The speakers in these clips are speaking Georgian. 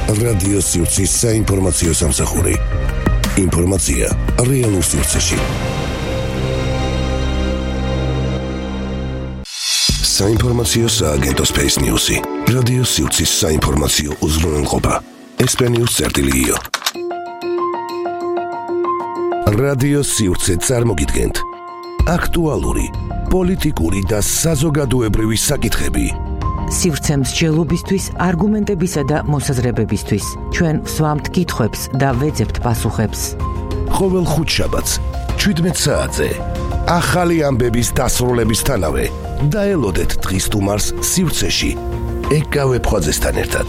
რადიო სივრცის საინფორმაციო სამსახური. ინფორმაცია რეალურ სივრცეში. საინფორმაციო სააგენტო Space News-ი. რადიო სივრცის საინფორმაციო უზრუნველყოფა. SP-News.io. რადიო სივრცე წარმოგიდგენთ აქტუალური, პოლიტიკური და საზოგადოებრივი საკითხები. სივრცე მსჯელობისთვის, არგუმენტებისა და მოსაზრებებისთვის. ჩვენ ვსვამთ კითხვებს და ვეძებთ პასუხებს. ყოველ ხუთშაბათს 17 საათზე ახალი ამბების დასრულებისთანავე დაელოდეთ დღის სტუმარს სივრცეში ეკავე ფხვაძესთან ერთად.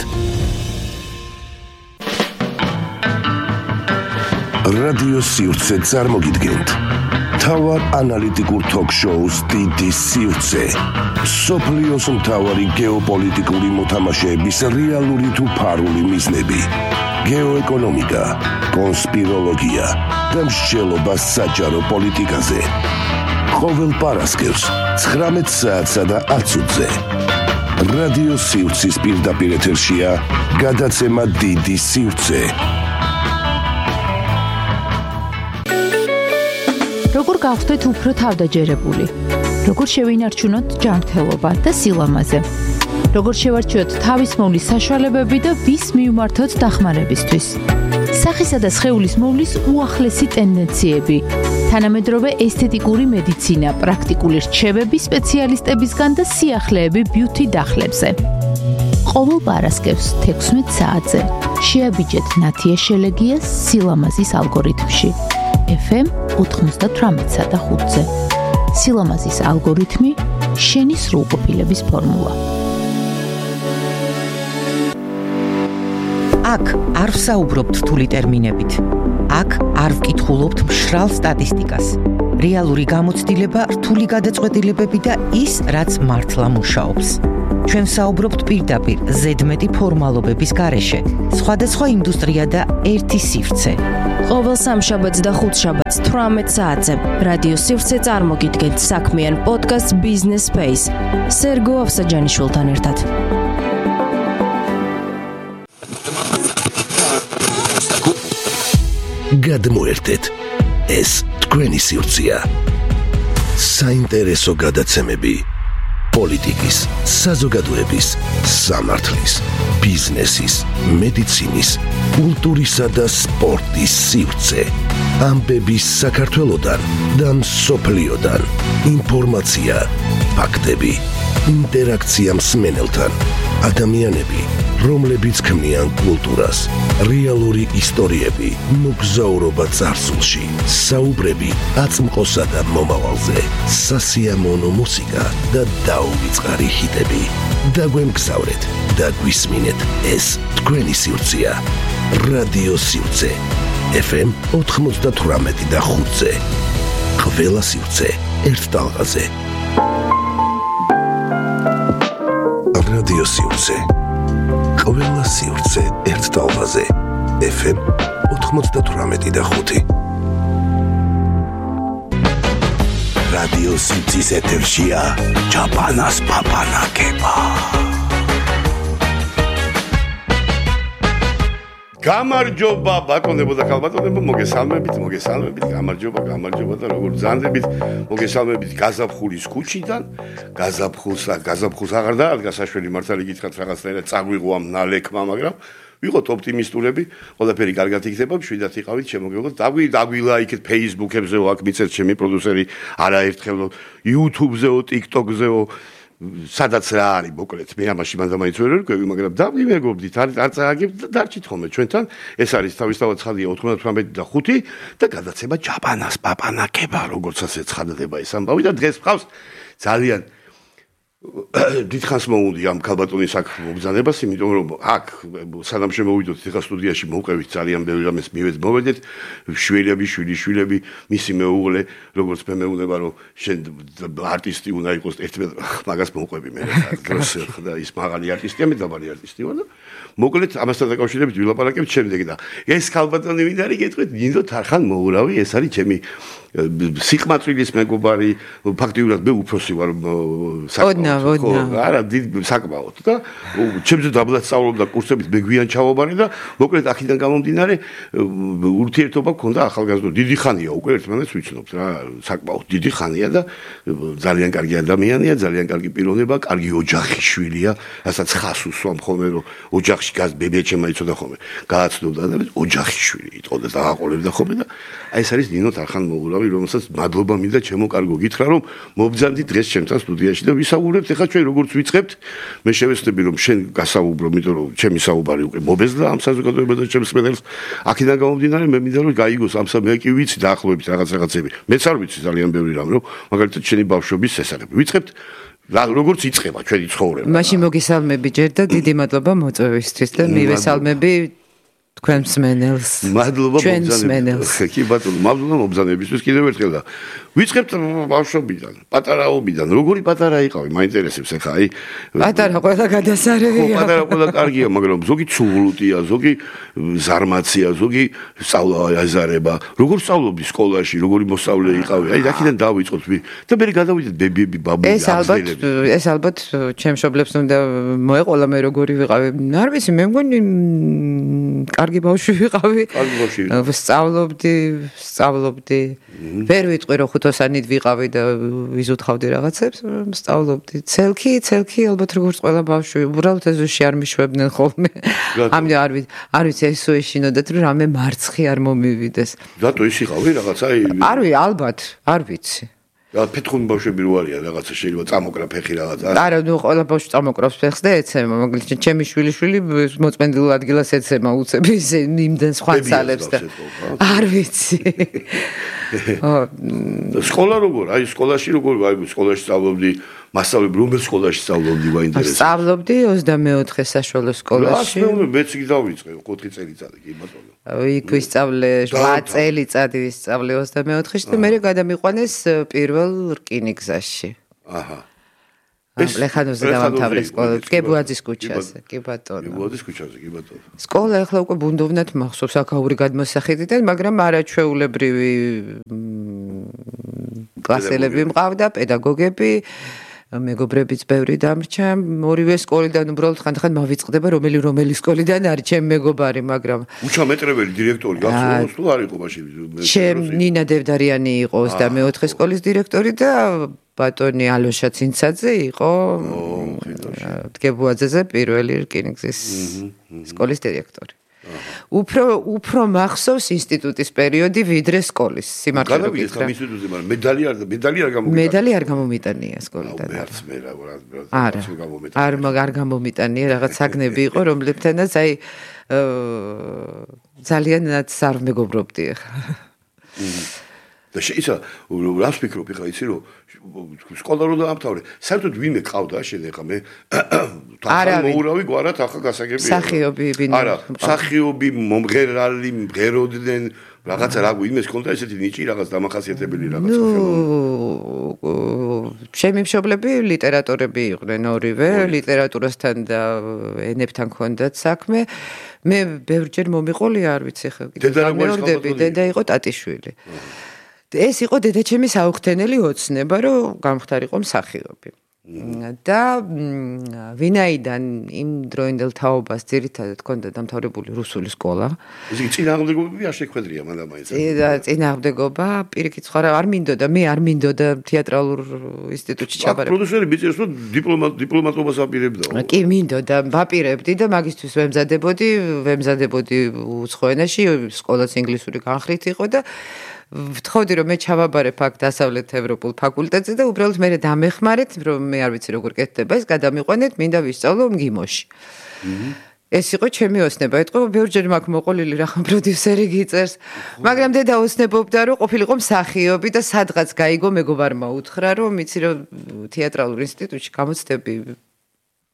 რადიო სივრცე წარმოგიდგენთ თავარ ანალიტიკურ თოქ-შოუს დიდი სივრცე. სოფლიოს მთავარი გეოპოლიტიკური მოთამაშეების რეალური თუ ფარული მიზნები, გეოეკონომიკა, კონსპიროლოგია და მსჯელობა საჯარო პოლიტიკაზე. ყოველ პარასკევს 19 საათსა და 10 წუთზე. რადიო სივრცის პირდაპირ ეთერშია გადაცემა დიდი სივრცე. როგორ გავხდეთ უფრო თავდაჯერებული? როგორ შევინარჩუნოთ ჯანმრთელობა და სილამაზე? როგორ შევარჩიოთ თავისმოვლის საშუალებები და ვის მივმართოთ დახმარებისთვის? სახისა და სხეულის მოვლის უახლესი ტენდენციები, თანამედროვე ესთეტიკური მედიცინა, პრაქტიკული რჩევები სპეციალისტებისგან და სიახლეები ბიუთი დახლებზე. ყოველ პარასკევს 16 საათზე შეაბიჯეთ ნათია შელეგიას სილამაზის ალგორითმში. FM 98-სა და 5-ზე. სილამაზის ალგორითმი, შენი სრულყოფილების ფორმულა. აქ არ ვსაუბრობთ რთული ტერმინებით. აქ არ ვკითხულობთ მშრალ სტატისტიკას. რეალური გამოცდილება, რთული გადაწყვეტილებები და ის, რაც მართლა მუშაობს. ჩვენ ვსაუბრობთ პირდაპირ ზედმეტი ფორმალობების გარეშე. სხვადასხვა ინდუსტრია და ერთი სივრცე. ყოველ სამშაბათს და ხუთშაბათს 18 საათზე რადიო სივრცე წარმოგიდგენთ საქმიან პოდკასტ Business Space სერგო ავსაჯანიშვილთან ერთად. გადმოერთეთ, ეს თქვენი სივრცეა. საინტერესო გადაცემები პოლიტიკის, საზოგადოების, სამართლის, ბიზნესის, მედიცინის, კულტურისა და სპორტის სივრცე. ამბების საქართველოდან და მსოფლიოდან. ინფორმაცია, ფაქტები, ინტერაქცია მსმენელთან. ადამიანები, რომლებიც ქმნიან კულტურას, რეალური ისტორიები, მოგზაურობა წარსულში, საუბრები აწმყოსა და მომავალზე, სასიამოვნო მუსიკა და დაუვიწყარი ჰიტები. დაგვემგზავრეთ და გვისმინეთ, ეს თქვენი სივრცეა. რადიო სივრცე. FM 98 და 5-ზე. ყველა სივრცე ერთ ტალღაზე. რადიო სივრცე. ყველა სივრცე ერთ ტალღაზე. FM 98 და 5. რადიო სივრცის ეთერშია ჩაპანას პაპანაკება. გამარჯობა ბატონებო და ხალბატონებო, მოგესალმებით, გამარჯობა და როგორ ბრძანდებით, მოგესალმებით გაზაფხულის ქუჩიდან, გაზაფხულს აღარ დაადგა საშველი მართალი გითხრათ რაღაცნაირად წაგვიღო ამ ნალექმა, მაგრამ ვიყოთ ოპტიმისტურები, ყველაფერი კარგად იქნება, მშვიდად იყავით, შემოგეღოთ, დაგვილაიქეთ Facebook-ებზეო, აქ მიცეთ ჩემი პროდიუსერი, არაერთხელ YouTube-ზეო, TikTok-ზეო, სადაც რა არის, მოკლედ, მე ამაში მანდამაინც ვერ ვერკვევი, მაგრამ დავიმეგობდით, არ წააგებთ და დარჩით ხოლმე ჩვენთან. ეს არის თავისთავად ცხადია 98 და 5 და გადაცემა ჩაპანას პაპანაკება, როგორც ასე ცხადდება ეს ამბავი და დღეს ვყავს ძალიან დიდხანს მოუდი ამ ქალბატონის აქ მოგზანებას, იმიტომ რომ აქ სანამ შემოვიდოთ ეხლა სტუდიაში მოვყევით ძალიან ბევრი რამეს მივედით, შვილები, მისი მეუღლე, როგორც მე მეუბნება რომ შენ არტისტი უნდა იყოს, ერთმანეთს მაგას მოვყვები მე დროს და ის მაღალი არტისტია, მე დაბალი არტისტი ვარ და მოკლედ ამასთან დაკავშირებით ვილაპარაკებთ შემდეგ და ეს ქალბატონი ვინ არის გეტყვით, ნინდო თარხან მოურავი, ეს არის ჩემი სიყმაწვილის მეგობარი, ფაქტიურად მე უფროსი ვარ არა დიდ საკმაოდ და ჩემზე დაბლად სწავლობდა კურსებით მეგვიან ჩავაბარე და მოკლედ აქედან გამომდინარე ურთიერთობა გქონდა ახალგაზრდულ დიდი ხანია უკვე ერთმანეთს ვიცნობთ რა საკმაოდ დიდი ხანია და ძალიან კარგი ადამიანია ძალიან კარგი პიროვნება კარგი ოჯახის შვილია რასაც ხას უსვამ ხოლმე რომ ოჯახში გას ბებიაჩემ იცოდა ხოლმე გააცნობდა და ოჯახის შვილი იტყოდა და აყოლებდა ხოლმე და აი ეს არის ნინო თარხან მოურავი რომელსაც მადლობა მინდა ჩემო კარგო გითხრა რომ მობძანდი დღეს ჩემთან სტუდიაში და ვისაუბრებთ ეხლა ჩვენ როგორც ვიწყებთ მე შევეცდები რომ შენ გასაუბრო იმიტომ რომ ჩემი საუბარი უკვე მობეზდა ამ საზოგადოებასა და ჩემს მედელს აქედან გამომდინარე მე მინდა რომ გაიგოს ამ მე კი ვიცი დაახლოებით რაღაცები მეც არ ვიცი ძალიან ბევრი რამ რომ მაგალითად შენი ბავშვობის შესახებ ვიწყებთ როგორც იწყება ჩვენი ცხოვრება მაშინ მოგესალმები ჯერ და დიდი მადლობა მოწვევისთვის და მივესალმები თქვენ მსმენელს მადლობა მობძანებისთვის კი ბატონო მადლობა მობძანებისთვის კიდევ ერთხელ და ვიწყებთ ბავშვობიდან პატარაობიდან როგორი პატარა იყავი მაინტერესებს ახლა აი პატარა ყველა გადასარევია პატარა ყველა კარგია მაგრამ ზოგი ცუღლუტია ზოგი ზარმაცია ზოგი სწავლა აზარება როგორ სწავლობდი სკოლაში როგორი მოსწავლე იყავი აი აქედან დავიწყოთ და მე გადავიდეთ ბებიები ბაბუები ეს ალბათ ჩემ მშობლებს უნდა მოეყოლა მე როგორი ვიყავი არ ვიცი მე მგონი კარგი ბავშვი ვიყავი სწავლობდი ვერ ვიტყვი რომ ხუთოსანით ვიყავი და ვიზუთხავდი რაღაცებს სწავლობდი ცელქი ალბათ როგორც ყველა ბავშვი უბრალოდ ეზოში არ მიშვებდნენ ხოლმე ამდენ არ ვიცი ესო ეშინოდათ რომ რამე მარცხი არ მომივიდეს რატო ის იყავი რაღაცა ალბათ არ ვიცი რა ფეთხუნ ბავშვები რო არიან რაღაცა შეიძლება წამოკრა ფეხი რაღაცა არა ნუ ყველა ბავშვი წამოკრავს ფეხს და ეცემა მაგალითად ჩემი შვილი მოწმენდილ ადგილას ეცემა უცებ ის იმდენ სხვა ძალებს და არ ვიცი სკოლა როგორ აი სკოლაში როგორ აი სკოლაში სწავლობდი მასწავლებლები რომელ სკოლაში სწავლობდი მაინტერესებს სწავლობდი 24 საშუალო სკოლაში მეც კი დავიწყე 4 წელიწადი კი ბატონო იქ ვისწავლე 8 წელიწადი ვისწავლე 24-ში და მე გადამიყვანეს პირველ რკინიგზაში აჰა ლეხანოზე დავამთავრე სკოლა გებუაძის ქუჩაზე კი ბატონო გებუაძის ქუჩაზე კი ბატონო სკოლა ახლა უკვე ბუნდოვნად მახსოვს აქაური გადმოსახედიდან მაგრამ არაჩვეულებრივი კლასელები მყავდა პედაგოგები მეგობრებიც ბევრი დამრჩა ორივე სკოლიდან უბრალოდ ხანდახან მავიწყდება რომელი სკოლიდან არის ჩემ მეგობარი მაგრამ უჩამეტრებელი დირექტორი გახსოვს თუ არ იყო მაშინ ჩემ ნინა დევდარიანი იყო 24 სკოლის დირექტორი და ბატონი ალოშა ცინცაძე იყო დგებუაძეზე პირველი რკინიგზის სკოლის დირექტორი უფრო მახსოვს ინსტიტუტის პერიოდი ვიდრე სკოლის სიმართლე გითხრა ინსტიტუტზე მაგრამ მედალი არ გამომიტანია სკოლიდან არ გამომიტანია რაღაც საგნები იყო რომლებთანაც აი ძალიანაც არ მეგობრობდი ახლა და შეისა რას ფიქრობ ხა იცი რომ სკოლა რო დაამთავრე საერთოდ ვინმე ყავდა შენ ახლა მე თახა მოურავი გვარად ახლა გასაგებია სახიობი არა სახიობი მომღერალი მღეროდნენ რაღაცა რა გვინმეს კონდა ესეთი ნიჭი რაღაც დამახასიათებელი რაღაც ჩემი მშობლები ლიტერატორები იყვნენ ორივე ლიტერატურასთან და ენებთან ჰქონდათ საქმე მე ბევრჯერ მომიყოლია არ ვიცი ხა გამეორდები დედა იყო ტატიშვილი ეს იყო დედაჩემი საუხთენელი ოცნება რომ გამختارიყო მსახიობი და ვინაიდან იმ დროინდელ თაობას ძირითადად ჰქონდა დამთავრებული რუსული სკოლა ისე წინააღმდეგობები არ შეხვედრია მანდ-ამაინც წინააღმდეგობა პირიქით სხვა არ მინდოდა მე არ მინდოდა თეატრალურ ინსტიტუტში ჩაბარება პროდიუსერი ბიჭებს რომ დიპლომატობას აპირებდა კი მინდოდა ვაპირებდი და მაგისტვის ვემზადებოდი უცხო ენაში სკოლაც ინგლისური განხრით იყო და ვთხოვდი რომ მე ჩავაბარებ აქ დასავლეთ ევროპულ ფაკულტეტზე და უბრალოდ მე დამეხმარეთ რომ მე არ ვიცი როგორ კეთდება ეს გადამიყვანეთ მინდა ვისწავლო მგიმოში ეს იყო ჩემი ოცნება ეთქო ბევრჯერ მაქვს მოყოლილი რახან პროდიუსერი გიწერს მაგრამ დედა ოცნებობდა რომ ყოფილიყო მსახიობი და სადღაც გაიგო მეგობარმა უთხრა რომ იცი რომ თეატრალურ ინსტიტუტში გამოცდები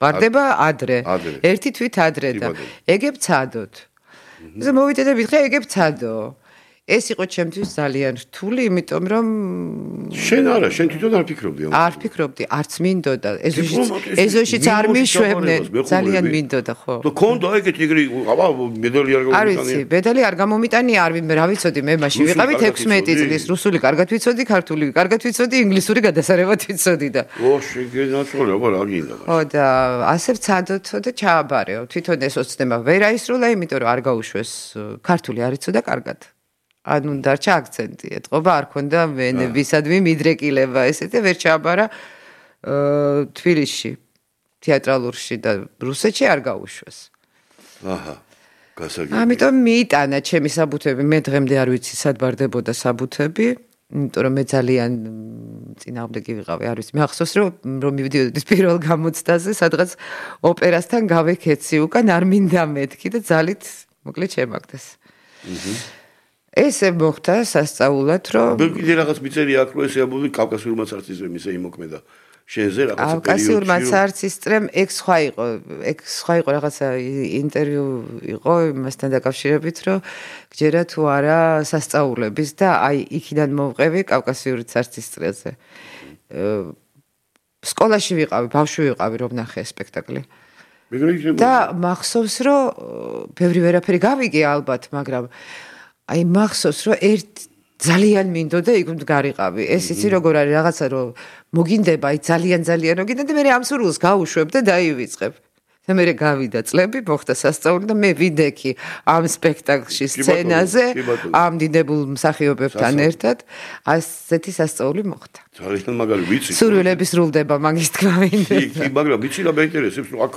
ვარდება ადრე ერთი თვით ადრე და ეგებ ცადოთ. ზემოვიდე და ვითხე ეგებ ცადო. ეს იყო ჩემთვის ძალიან რთული, იმიტომ რომ შენ არა, შენ თვითონ არ ფიქრობდი ამ. არ ფიქრობდი, არც მინდოდა. ეზოშიც არ მიშვებდნენ, ძალიან მინდოდა, ხო. და კონდა ეგეთი ეგრე, აბა მედალი არ არ ვიცი, მედალი არ გამომიტანია, რა ვიცოდი, მე მაშინ ვიყავით 16 წლის, რუსული კარგად ვიცოდი, ქართული კარგად ვიცოდი, ინგლისური გადასარევად ვიცოდი და. ო, შეგენაცვალე, აბა რა გინდა. ხო და ასე ვცადოთო და ჩააბარეო. თვითონ ეს ოცნება ვერ აისრულა, იმიტომ რომ არ გაუშვეს ქართული არ იცოდა კარგად. ანუ დარჩა აქცენტი, ეთყობა არ ქონდა ვენებისადმი მიდრეკილება, ესეთი ვერ ჩააბარა თბილისში, თეატრალურში და რუსეთში არ გაუშვეს. აჰა. გასაგებია. ამიტომ მიიტანა ჩემი საბუთები, მე დღემდე არ ვიცი სად ბარდებოდა საბუთები. იმიტომ რომ მე ძალიან წინააღმდეგი ვიყავი, არ ვიცი. მე ახსოვს რომ მივიდიოდი პირველ გამოცდაზე, სადღაც ოპერასთან გავეკეცი უკან არ მინდა მეთქი და ძალით მოკლედ შემაგდეს. ესე მოხდა სასწაულად, რომ კიდე რაღაც მიწერია აქ, რომ ესე ამბობდი კავკასიურმა ცარცისძემ ისე იმოქმედა. შენზე რაღაცა პერიოდში. კავკასიურმა ცარცისძემ ეგ სხვა იყო რაღაცა ინტერვიუ იყო იმასთან დაკავშირებით, რომ გჯერა თუ არა სასწაულების და აი იქიდან მოვყევი კავკასიური ცარცისძეზე. სკოლაში ვიყავი, ბავშვი ვიყავი, რომ ნახე სპექტაკლი. და მახსოვს, რომ ბევრი ვერაფერი გავიგე ალბათ, მაგრამ აი მახსოვს, რომ ძალიან მინდოდა იქ მდგარიყავი. ეს იცი როგორ არის რაღაცა რომ მოგინდება, აი ძალიან რომ გინდა და მე ამ სურვილს გავუშვებ და დაივიწყებ. და მე გავიდა წლები, მოხდა სასწაული და მე ვიდექი ამ სპექტაკლში სცენაზე, ამ დინებულ მსახიობებთან ერთად, ასეთი სასწაული მოხდა. ძალიან მაგარი ვიცი. სურვილები სრულდება მაგის თქმა მინდა. კი, მაგრამ ვიცი რა მეინტერესებს, რომ აქ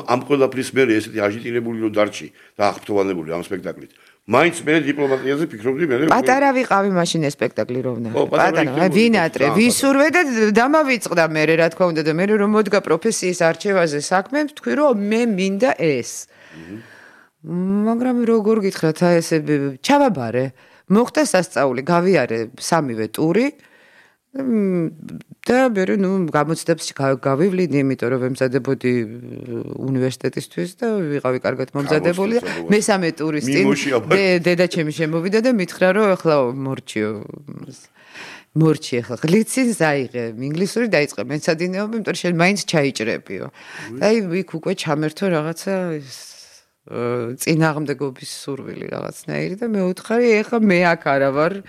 ამ ყველაფრის მერე ესეთი აჟიტირებული რომ დარჩი და აღფრთოვანებული ამ სპექტაკლით. მაინც მე დიპლომატიაზე ფიქრობდი მე. პატარა ვიყავი მაშინ ეს სპექტაკლი რომ ვნახე. პატარა, ვინატრე, ვისურვე და დამავიწყდა მე რა თქმა უნდა და მე რომ მოდგა პროფესიის არჩევაზე საქმე, თქვი რომ მე მინდა ეს. მაგრამ როგორ გითხრათ, აი ესე ჩავაბარე. მოხდა სასწაული, გავიარე სამივე ტური. და მე გამოცდებს გავივლინე, იმიტომ რომ ვემზადებოდი უნივერსიტეტისთვის და ვიყავი კარგად მომზადებული. მესამე ტურის წინ დედა ჩემი შემოვიდა და მითხრა რომ ეხლა მორჩი ეხლა გლიცინს აიღე, ინგლისური დაიწყე მეცადინეობა, იმიტომ რომ შენ მაინც ჩაიჭრებიო. და იქ უკვე ჩამერთო რაღაცა წინააღმდეგობის სურვილი რაღაცნაირი და მე ვუთხარი ეხლა მე აქ არა ვარ